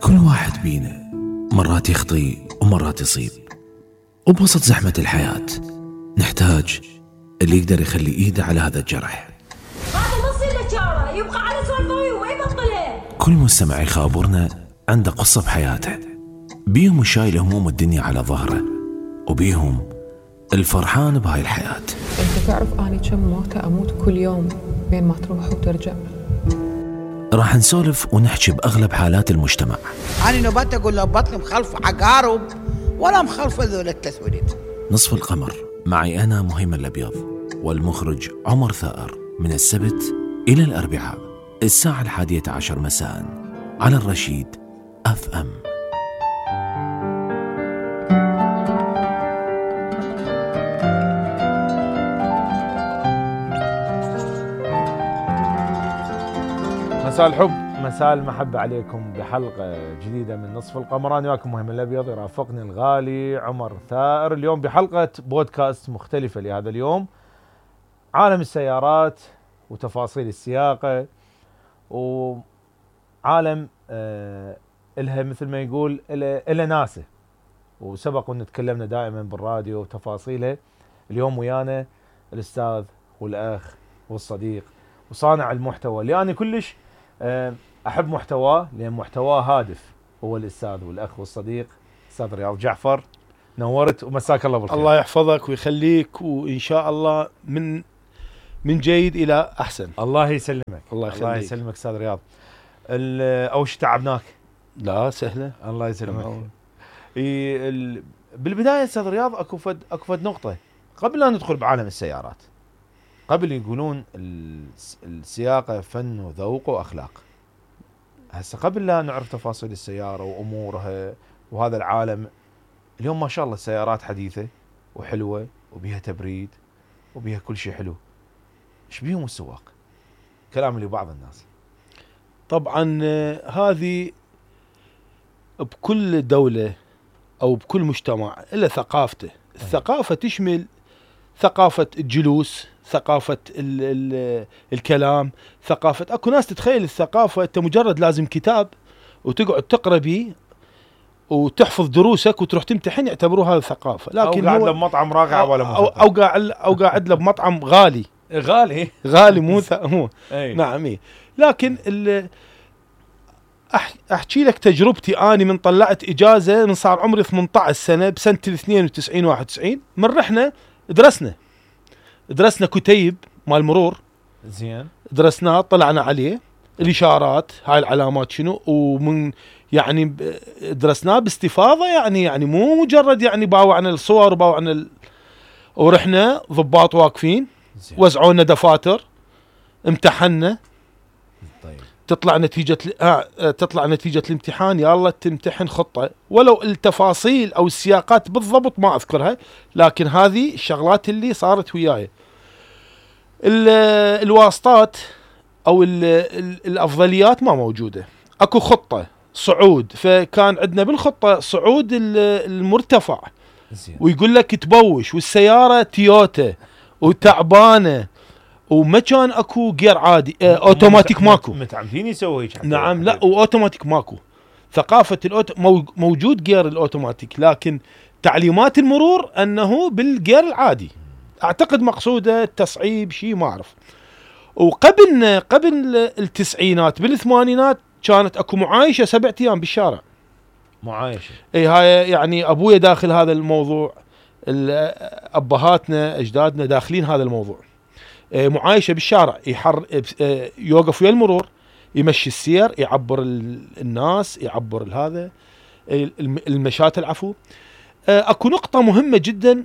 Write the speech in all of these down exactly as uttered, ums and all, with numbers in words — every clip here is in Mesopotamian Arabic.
كل واحد بينا مرات يخطي ومرات يصيب، وبوسط زحمة الحياة نحتاج اللي يقدر يخلي ايده على هذا الجرح. هذا نص الاشاره يبقى على سوالفه وما يبطله. كل مستمع يخابرنا عنده قصة بحياته، بيهم شايل هموم الدنيا على ظهره، وبيهم الفرحان بهاي الحياة. انت تعرف اني كم موتة اموت كل يوم بين ما تروح وترجع؟ راح نسولف ونحكي بأغلب حالات المجتمع. أنا نبات أقول له بطل مخلف عقارب ولا مخلف ذول التسويد. نصف القمر معي أنا مهيمن الأبيض والمخرج عمر ثائر، من السبت إلى الأربعاء الساعة الحادية عشر مساء على الرشيد أف أم. مساء الحب، مساء المحبة عليكم بحلقة جديدة من نصف القمر. أنا وياكم مهيمن الأبيض، يرافقني الغالي عمر ثائر اليوم بحلقة بودكاست مختلفة لهذا اليوم، عالم السيارات وتفاصيل السياقة، وعالم آه إلها مثل ما يقول إلها ناسه، وسبق ونتكلمنا دائما بالراديو وتفاصيله. اليوم ويانا الأستاذ والأخ والصديق وصانع المحتوى اللي أنا كلش أحب محتواه، لأن محتواه هادف، هو الأستاذ والأخ والصديق أستاذ رياض جعفر. نورت ومساك الله بالخير. الله يحفظك ويخليك، وإن شاء الله من من جيد إلى أحسن. الله يسلمك. الله يخليك. الله يسلمك أستاذ رياض. أول شيء تعبناك؟ لا سهلة. الله يسلمك. بالبداية أستاذ رياض أكو فد أكو فد نقطة قبل لا ندخل بعالم السيارات. قبل يقولون السياقة فن وذوق وأخلاق. هسه قبل لا نعرف تفاصيل السيارة وأمورها وهذا العالم، اليوم ما شاء الله السيارات حديثة وحلوة وبيها تبريد وبيها كل شيء حلو. ايش بيهم السواق؟ كلام لبعض الناس. طبعا هذه بكل دولة أو بكل مجتمع إلا ثقافته. الثقافة تشمل ثقافة الجلوس، ثقافة ال ال الكلام، ثقافة اكو ناس تتخيل الثقافة انت مجرد لازم كتاب وتقعد تقرا بيه وتحفظ دروسك وتروح تمتحن، يعتبروها هذا الثقافة. لكن او قاعد له بمطعم راقع ولا أو, او قاعد او قاعد له بمطعم غالي غالي غالي مو مو أي. نعم إيه. لكن أح احكي لك تجربتي. اني من طلعت اجازة من صار عمري ثمانية عشر سنة بسنة اثنين وتسعين واحد وتسعين، من رحنا درسنا درسنا كتيب مال مرور. زين. درسناه، طلعنا عليه الاشارات، هاي العلامات شنو، ومن يعني درسناه باستفاضه، يعني يعني مو مجرد يعني باوعنا الصور وباوعنا ال... ورحنا ضباط واقفين، وزعونا دفاتر، امتحنا. طيب. تطلع نتيجه آه تطلع نتيجه الامتحان، يلا تمتحن خطه، ولو التفاصيل او السياقات بالضبط ما اذكرها، لكن هذه الشغلات اللي صارت وياي. الواسطات او ال ال الافضليات ما موجوده، اكو خطه صعود، فكان عندنا بالخطه صعود المرتفع، ويقول لك تبوش، والسياره تويوتا وتعبانه وما كان اكو جير عادي، اه اوتوماتيك ماكو. متعمدين يسوي هيك؟ نعم. لا، واوتوماتيك ماكو. ثقافه الأوتو موجود جير الاوتوماتيك، لكن تعليمات المرور انه بالجير العادي. اعتقد مقصوده التصعيب، شيء ما اعرف. وقبل قبل التسعينات بالثمانينات كانت اكو معايشه سبعة ايام بالشارع. معايشه. اي هاي يعني ابويا داخل هذا الموضوع، ابهاتنا اجدادنا داخلين هذا الموضوع. معايشه بالشارع، يحر يوقف ويا المرور، يمشي السير، يعبر الناس، يعبر هذا المشاة العفو. اكو نقطه مهمه جدا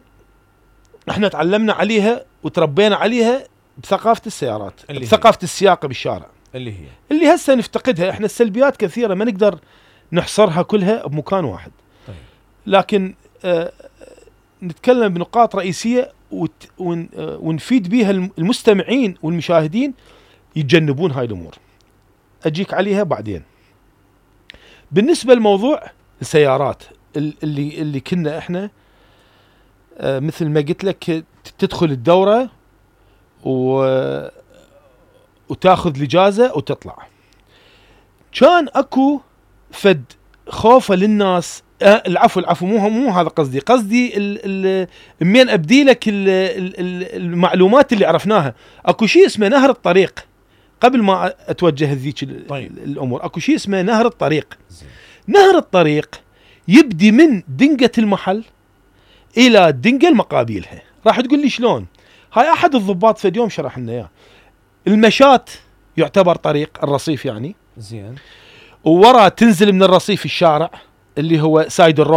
احنا تعلمنا عليها وتربينا عليها بثقافة السيارات، بثقافة السياقة بالشارع، اللي هي اللي هسه نفتقدها احنا. السلبيات كثيرة ما نقدر نحصرها كلها بمكان واحد. طيب. لكن آه نتكلم بنقاط رئيسية وت ون آه ونفيد بها المستمعين والمشاهدين يتجنبون هاي الأمور. أجيك عليها بعدين. بالنسبة لموضوع السيارات اللي اللي كنا احنا آه مثل ما قلت لك تدخل الدورة و... وتاخذ الإجازة وتطلع. كان اكو فد خوفه للناس. آه العفو العفو مو مو هذا قصدي، قصدي منين ابدي لك ال ال المعلومات اللي عرفناها. اكو شيء اسمه نهر الطريق قبل ما اتوجه ذيك طيب. الامور. اكو شيء اسمه نهر الطريق. زي. نهر الطريق يبدي من دنقة المحل الى الدنقة المقابلها. راح تقول لي شلون؟ هاي احد الضباط في اليوم شرح لنا اياه. المشات يعتبر طريق، الرصيف يعني. زين. وورا تنزل من الرصيف الشارع اللي هو سايد الروح